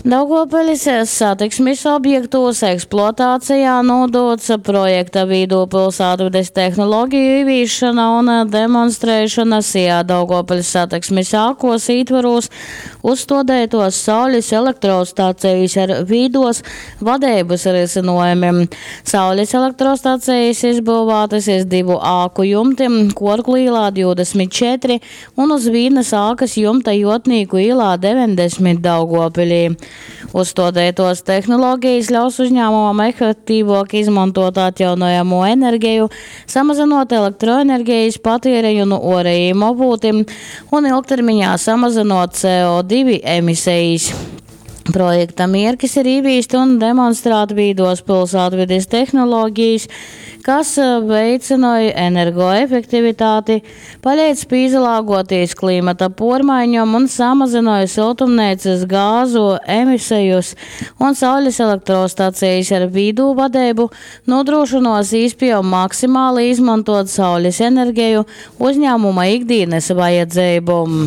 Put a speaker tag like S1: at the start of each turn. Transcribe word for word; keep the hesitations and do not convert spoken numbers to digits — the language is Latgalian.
S1: Daugovpilis satiksmis objektūs ekspluatācejā nūdūts projekta Vīdū pilsētvides tehnoloģiju ieviešana un demonstrēšana SIA Daugavpils satiksmes ēkos ītvaros uzstādītos saules elektrostacijas ar vīdos vadeibys risinojumim. Saules elektrostacijas izbyuvātas iz divu āku jumtim Kuorklu īlā divdesmit četri un uz vīnas ākas jumta Juotnīku īlā deveņdesmit Daugavpilī. Uzstādītos tehnoloģijas ļaus uzņēmumam efektīvāk izmantot atjaunojamo enerģiju, samazinot elektroenerģijas patēriņu no orējiem avotiem un ilgtermiņā samazinot C O divi emisijas. Projekta mierkis ir īvīst un demonstrēt vīdos pilsētvides tehnoloģijas, kas veicināja energoefektivitāti, palīdz pīzalāgoties klimata pormaiņom un samazināja siltumnīcas gāzu emisijas un saules elektrostacijas ar vīdū vadību nodrošinos īspēju maksimāli izmantot saules enerģiju uzņēmuma ikdienas vajadzībom.